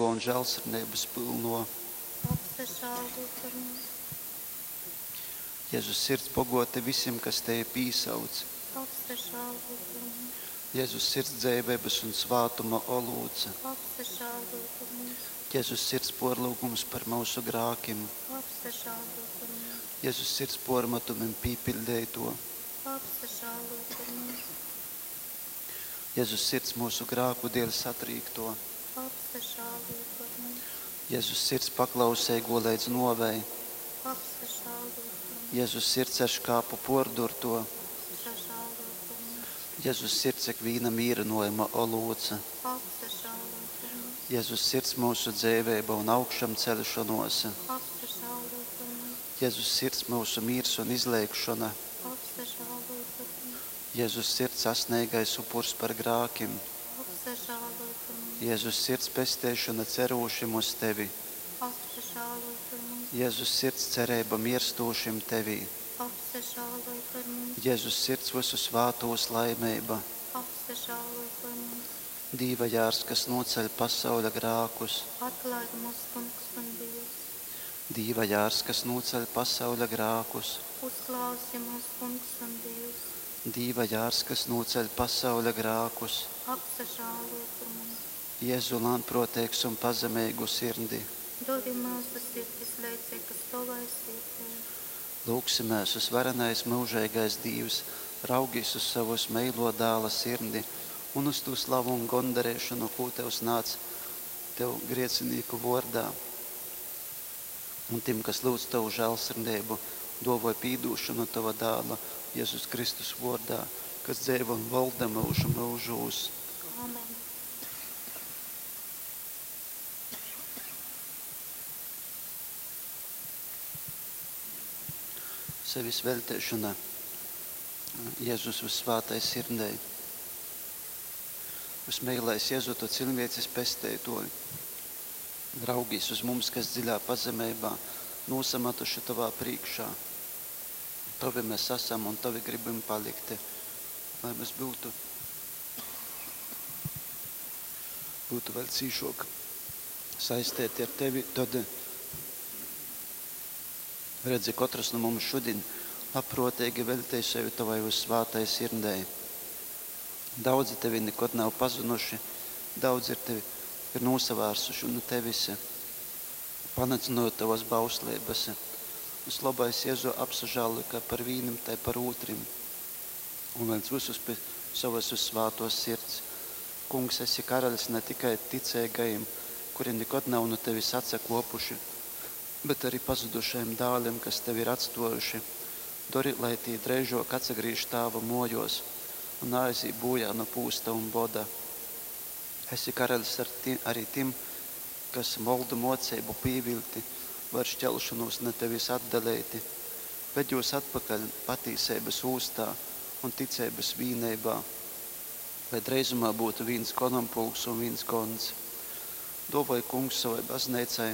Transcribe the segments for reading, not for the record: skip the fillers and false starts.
Pazemeigō un žālsirdeibas pylnō. Apsažāloj par mums! Jezus Sirds bogōti visim, kas Tevi pīsauc. Apsažāloj par mums! Jezus Sirds dzeiveibas un svātuma olūts. Apsažāloj par mums! Jezus Sirds pōrlyugums par myusu grākim. Apsažāloj par mums! Jezus Sirds pōrmatumim pīpiļdeitō. Apsažāloj par mums! Jezus Sirds myusu grāku dēļ satrīktō. Apsažāloj par mums! Jezus Sirds paklauseigō leidz nōvei. Apsažāloj par mums! Jezus Sirds ar škāpu pōrdurtō. Apsažāloj par mums! Jezus Sirds ikvīna mīrynōjuma olūts. Apsažāloj par mums! Jezus Sirds myusu dzeiveiba un augšamceļšonōs. Apsažāloj par mums! Jezus Sirds myusu mīrs un izleigšona. Apsažāloj par mums! Jezus Sirds asneigais upurs par grākim. Apsažāloj par mums! Jezus Sirds pesteišona cerūšim uz Tevi. Apsažāloj par mums! Jezus Sirds cereiba mierstūšim Tevī. Apsažāloj par mums! Jezus Sirds vysu svātūs laimeiba. Apsažāloj par mums! Dīva jārs, kas nūceļ pasauļa grākus. Atlaid mūs, Kungs un Dievs! Dīva jārs, kas nūceļ pasauļa grākus. Uzklausi mūs, Kungs un Dievs! Dīva jārs, kas nūceļ pasauļa grākus. Apsažāloj par mums! Jēzu lānprōteigs un pazemeigu sirdi. Dori myusu sirdis leidzīgas Tovai sirdei. Lūgsimēs uz varenais myužeigais Dīvs, raugīs uz savus meilo dāla sirdi un uz tū slavu un gondarēšanu, kū Tev snādz Tev griecinīku vōrdā. Un tim, kas lūdz Tavu žēlsirdeibu, dōvoj pīdūšanu Tova dāla Jezus Kristus vōrdā, kas dzeivo un valda myužu myužūs. Amen. Sevis veļteišona Jezus vyssvātai sirdei. Vysmeilais Jezu, tu cilvēces pesteitoji, raugīs uz mums, kas dziļā pazemeibā nūsamatuši Tovā prīkšā. Tovi mēs esam un Tovi gribam palikt, lai mēs būtu vēl cīšok saistēti ar Tevi, tad redzi, katrs no mums šodien labprātīgi veltej sevi Tavai uzsvātai sirdei. Daudzi Tevi nekad nav pazinuši, daudzi ir Tevi ir nosavērsuši no Tevis, panacinot Tavas bauslības. Vislabais Jēzu apsažāli, kā par vīnam, tai par otrim. Un viens visus pie savas uzsvātos sirds. Kungs, esi karalis ne tikai ticīgajiem, kuri nekad nav no Tevis atsakopuši, bet arī pazudušajiem dāliem, kas Tevi ir atstojuši. Dori, lai tī dreižok atsagrīž tāva mojos un aizī bojā no pūsta un boda. Esi karalis ar arī tim, kas moldu mocību pīvilti, var šķelšanos ne tevis atdalēti, ved jūs atpakaļ patīsības ūstā un ticības vīneibā, lai dreizumā būtu viens konompulks un viens gons. Dovoj kungs savai baznīcai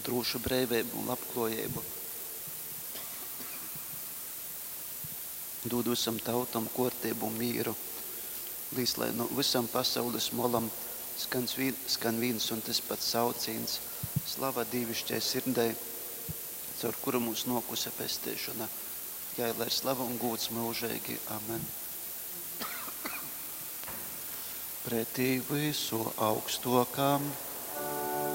drūšu breivību un labklājību. Dod visam tautam kārtību un mīru, līdz lai no visam pasaules molam skan viens un tas pats sauciens. Slava dīvišķai sirdei, caur kuru mūs nokuse pestīšana. Jai lai ir slava un gūds mūžīgi. Amen. Pretī visu augstokam.